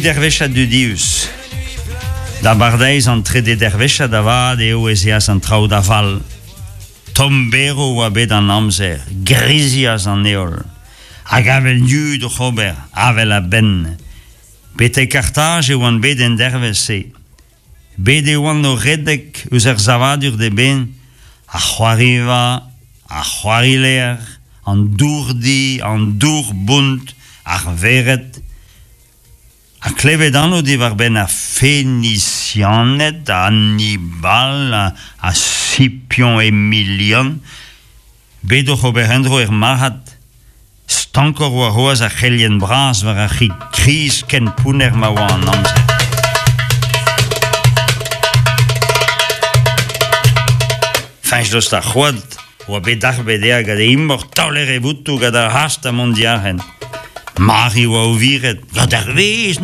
dervezhiad dudius. D'abardaez an trede dervezhiad avat eo ez eas an traoù da fall. Tomm-berv oa bet an amzer, grizias an heol. Hag avel yud oc'h ober, avel a-benn. Betek Kartaj e oan bet en dervezh-se. Bet e oan o redek eus ar savadur d'eben, ar c'hoariva, ar c'hoarilec'h, an dourdi, an dour-bont, ar vered. Ha klevet anv diwar-benn ar Fenisianed, Hannibal ha Scipion Emilian, bet oc'h ober endro er marc'had. Stankoc'h oa c'hoazh ar c'helien bras war ar c'hig kriz ken pounner ma oa an amzer. Feñch-dost ar c'hoad oa bet darbet dezhañ gant e imor taoler e votoù gant ar hast ha mont diarc'hen. Mari oa o viret, gant ar vezh na